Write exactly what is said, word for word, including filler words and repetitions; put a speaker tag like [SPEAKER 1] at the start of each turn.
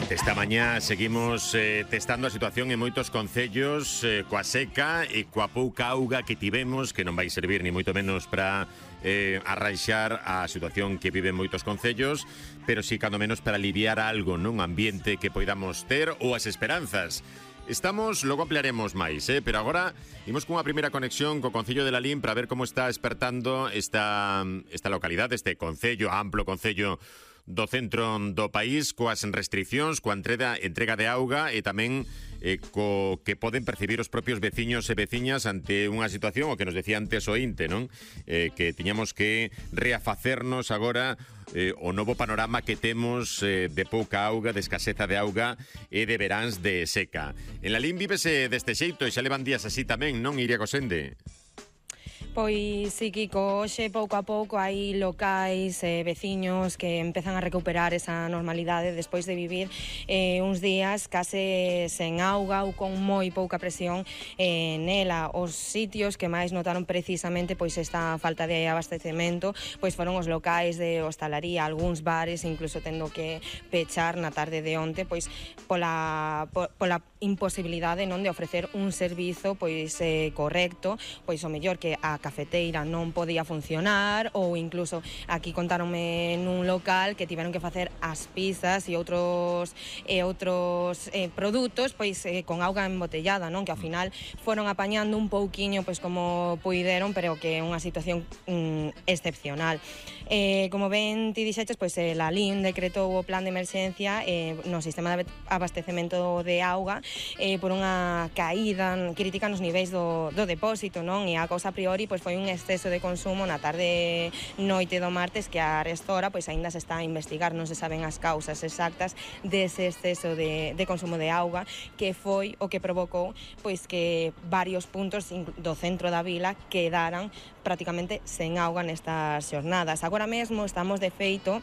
[SPEAKER 1] Durante esta mañá seguimos eh, testando a situación en moitos concellos eh, coa seca e coa pouca auga que tivemos, que non vai servir ni moito menos para eh, arranxar a situación que viven moitos concellos, pero sí cando menos para aliviar algo nun ambiente que poidamos ter ou as esperanzas. Estamos, logo ampliaremos máis, eh? pero agora imos cunha primeira conexión co Concello de Lalín para ver como está despertando esta, esta localidade, este concello, amplo concello do centro do país, coas restriccións, coa entrega, entrega de auga e tamén eh, co que poden percibir os propios veciños e veciñas ante unha situación, o que nos decía antes o INTE, non? Eh, que tiñamos que reafacernos agora eh, o novo panorama que temos eh, de pouca auga, de escaseza de auga e de veráns de seca. En Lalín vívese deste xeito e xa levan días así tamén, non, Iria Cosende?
[SPEAKER 2] Pois sí, Kiko, hoxe pouco a pouco hai locais e eh, veciños que empezan a recuperar esa normalidade despois de vivir eh, uns días case sen auga ou con moi pouca presión eh, nela. Os sitios que máis notaron precisamente pois esta falta de abastecemento pois foron os locais de hostalaría, algúns bares incluso tendo que pechar na tarde de onte pois pola, pola imposibilidade non de ofrecer un servizo pois eh, correcto, pois o mellor que a cafeteira non podía funcionar ou incluso aquí contáronme nun local que tiveron que facer as pizzas e outros e outros eh, produtos pois eh, con auga embotellada, non? Que ao final foron apañando un pouquiño pois como puideron, pero que é unha situación mm, excepcional. Eh, como ben ti dixeches, pois eh, Lalín decretou o plan de emerxencia eh, no sistema de abastecemento de auga eh, por unha caída crítica nos niveis do, do depósito, non? E a cousa a priori pois foi un exceso de consumo na tarde noite do martes que a restora pois aínda se está a investigar, non se saben as causas exactas dese exceso de, de consumo de auga que foi o que provocou pois que varios puntos do centro da vila quedaran prácticamente sen auga nestas xornadas. Agora mesmo estamos de feito